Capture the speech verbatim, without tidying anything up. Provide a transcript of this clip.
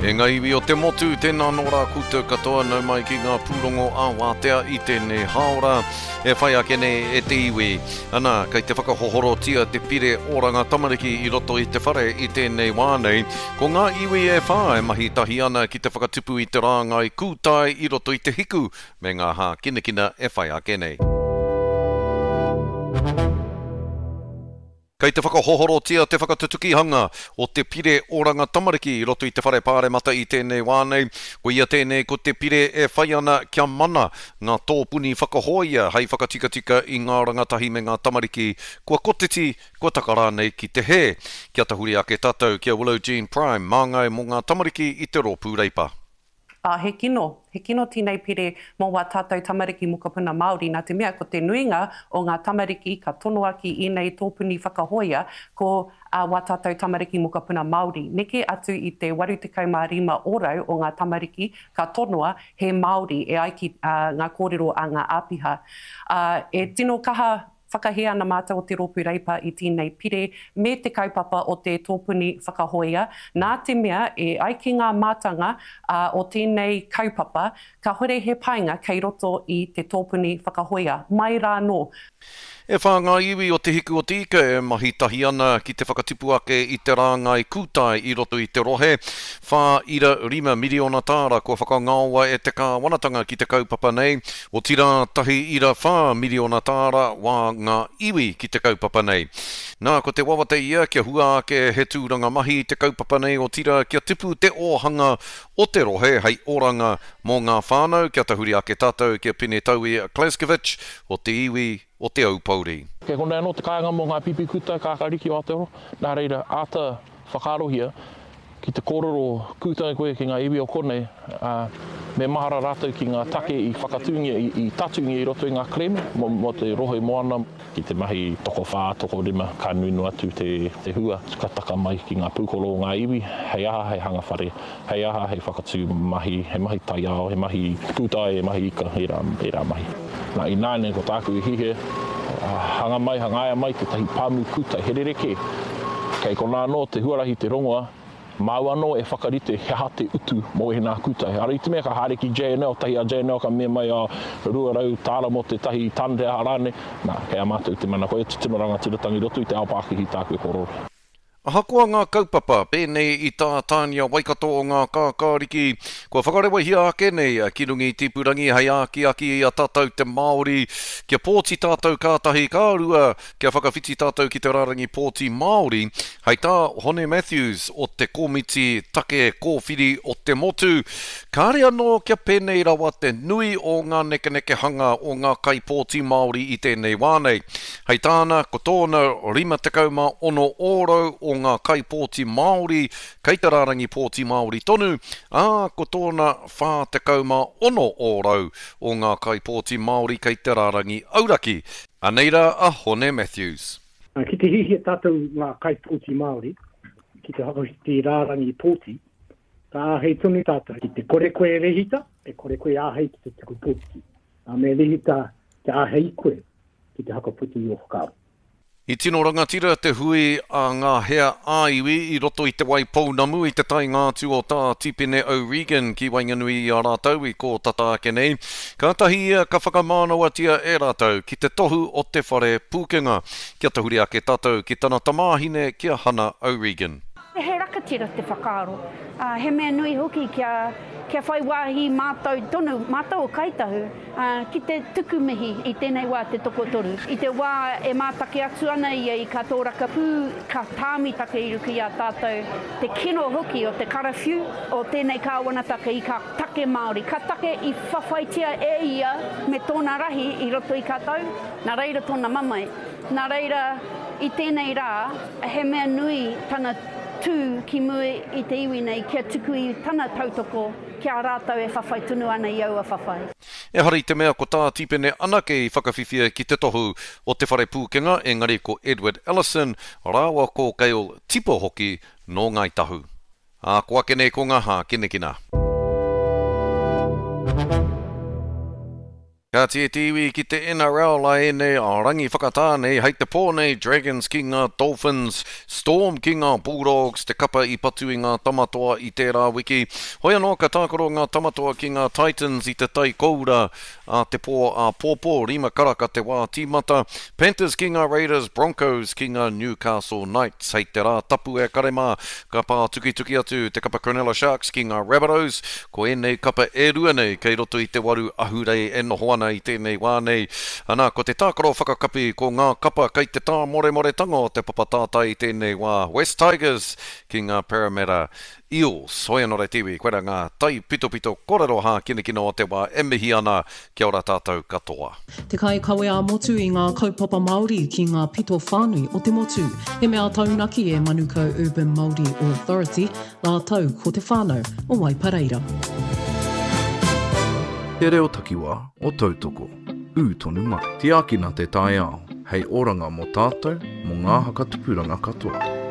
E ngā iwi o te motu, tēnā nō rā koutou katoa nau mai ki ngā pūrongo ā-wātea i tēnei hāora e whai ake nei e te iwi. Ana, kei te whakahohorotia te pire oranga tamariki i roto i te whare i tēnei wā nei. Ko ngā iwi e whā e mahi tahi ana ki te whakatupu i te rāngai kūtai i roto i te hiku me ngā hākinakina e whai ake nei. Kei te whakahohorotia te whakatutukihanga o te pire oranga tamariki i roto i te whare pāremata i tēnei wā nei. Ko ia tēnei ko te pire e whai ana kia mana ngā tōpuni whakahoia hei whakatikatika i ngā rangatahi me ngā tamariki kua kotiti, kua taka rānei ki te hē. Kia tahuri ake tātou ki a Willow Jean Prime, māngai mō ngā tamariki i te rōpū Reipa. Ā, he kino, he kino tēnei pire mō wā tātou tamariki mokopuna Māori, nā te mea ko te nuinga o ngā tamariki ka tonoa ki ēnei tōpuni whakahoia ko wā tātou tamariki mokopuna Māori. Neke atu i te waru tekau mā rima ōrau o ngā tamariki ka tonoa he Māori e ai ki ngā kōrero a ngā āpiha. Ā, e tino kaha whakahē ana mātou o te Rōpū Reipa i tēnei pire me te kaupapa o te tōpuni whakahoia, nā te mea e ai ki ngā mātanga o tēnei kaupapa, kāhore he painga kei roto i te tōpuni whakahoia, mai rānō. E whā ngā iwi o Te Hiku o Te Ika e mahi tahi ana ki te whakatipu ake i te rāngai kūtai i roto i te rohe. Whā ira rima miriona tāra kua whakangaoa e te kāwanatanga ki te kaupapa nei, otirā tahi ira whā miriona tāra wā ngā iwi ki te kaupapa nei. Nā, ko te wawata ia kia hua ake he tūranga mahi te kaupapa nei, otirā kia tipu te ōhanga o te rohe hei oranga mō ngā whānau, kia tahuri ake tātou ki a Pene Taui Kleskovic o te iwi o Te Aupōuri. Kei konei anō te kāinga mō ngā pipi kuta kākāriki o Aotearoa, nā reira, āta whakaarohia ki te kōrero kūtai koe ki ngā iwi o konei, ā, me mahara rātou ki ngā take i whakatūngia, i tatūngia i roto i ngā kerēme mō te rohe moana. Ki te mahi tokowhā, tokorima, ka nui noa atu te hua ka taka mai ki ngā pūkoro o ngā iwi, hei aha, hei hanga whare, hei aha, hei whakatū mahi, he mahi taiao, he mahi kūtai, he mahi ika, ērā, ērā mahi. Nā, ināianei ko tāku i hihia, hanga mai, hangaia mai tētahi pāmu kūtai, he rerekē. Kei konā anō te huarahi te rongoa, māu anō e whakarite he aha te utu mō ēnā kūtai. Ara i te mea ka haere ki J N L, tahi a J N L ka mea mai, oh, rua rau tāra mō tētahi tane te aha rānei, nā, kei a mātou te mana, koia te tino rangatiratanga i roto i te ao pākihi tāku e kōrero. Ahakoa ngā kaupapa, pēnei i tā Tānia Waikato o ngā kākāriki, kua whakarewahia ake nei ki runga i Tipurangi hei ākiaki i a tātou te Māori, kia pōti tātou kātahi ka rua, kia whakawhiti tātou ki te rārangi pōti Māori, hei tā Hone Matthews o te Komiti Take Kōwhiri o te Motu, kāre anō kia pēnei rawa te nui o ngā nekenekehanga o ngā kaipōti Māori i tēnei wā nei. Hei tāna, ko tōna rima tekau mā ono ōrau o ngā kaipōti Māori kei te rārangi pōti Māori tonu, ā, ko tōna whā tekau mā ono ōrau o ngā kaipōti Māori kei te rārangi auraki. Anei rā a Hone Matthews. Ki te hihia tātou ngā kaipōti Māori, ki te whakawhiti rārangi pōti, ka āhei tonu tātou. Ki te kore koe rehita, e kore koe āhei ki te tuku pōti. Nā me rehita kia āhei koe ki te whakaputa i ō whakaaro. I tino rangatira te hui a ngā hea ā-iwi i roto i te Waipounamu i te taenga atu o tā Tipene O'Regan ki waenganui i a rātou i kō tata ake nei. Kātahi ia ka whakamānawatia e rātou ki te tohu o te whare pūkenga. Kia tahuri ake tātou ki tana tamāhine ki a Hana O'Regan. He rakatira te whakaaro. Uh, he mea nui hoki kia, kia whai wāhi mātou tonu, mātou o Kāi Tahu, uh, ki te tuku mihi i tēnei wā te tokotoru. I te wā e mātake atu ana ia i ka tōrakapū, ka tāmitake i ruku i a tātou, te kino hoki o te karawhiu o tēnei kāwanataka i ka take Māori. Ka take i whawhaitia e ia me tōna rahi i roto i ka tau, nā reira tōna mamae. Nā reira i tēnei rā, he mea nui tana tū ki mua i te iwi nei kia tuku i tana tautoko kia rātou e whawhai tonu ana i aua whawhai. Ehara i te mea ko tā Tipene anake i whakawhiwhia ki te tohu o te whare pūkenga, engari ko Edward Ellison, rāua ko Gail Tipa hoki nō Ngāi Tahu. Ā, ko ake nei ko ngā hākinakina. Kāti e te iwi ki te N R L a ēnei a rangi whakatā nei, hei te pō nei Dragons ki ngā Dolphins, Storm ki ngā Bulldogs, te kapa i patu i ngā Tamatoa i tērā wiki. Hoi anō ka tākaro ngā Tamatoa ki ngā Titans i te tai koura a te pō āpōpō, rima karaka te wā tīmata. Panthers ki ngā Raiders, Broncos ki ngā Newcastle Knights. Hei te rā tapu e kare mā, ka pā tukituki atu te kapa Cronulla Sharks ki ngā Rabbitohs. Ko ēnei kapa e rua nei kei roto i te waru ahurei e noho ana i tēnei wā nei. Ana, ko te tākaro whakakapi ko ngā kapa kei te tāmoremoretanga o te papa tātai i tēnei wā. West Tigers ki ngā Parramatta Eels. Hoi anō te iwi, koira ngā tai pitopito kōrero hākinakina o te wā e mihi ana, kia ora tātou katoa. Te kai kawe a motu i ngā kaupapa Māori ki ngā pito whānui o te motu. He mea taunaki e Manukau Urban Māori Authority, rātou ko te whānau o Waipareira. Te reo takiwā o Tautoko. Ū tonu mai. Tiakina te taiao, hei oranga mō tātou, mō ngā hakatupuranga katoa.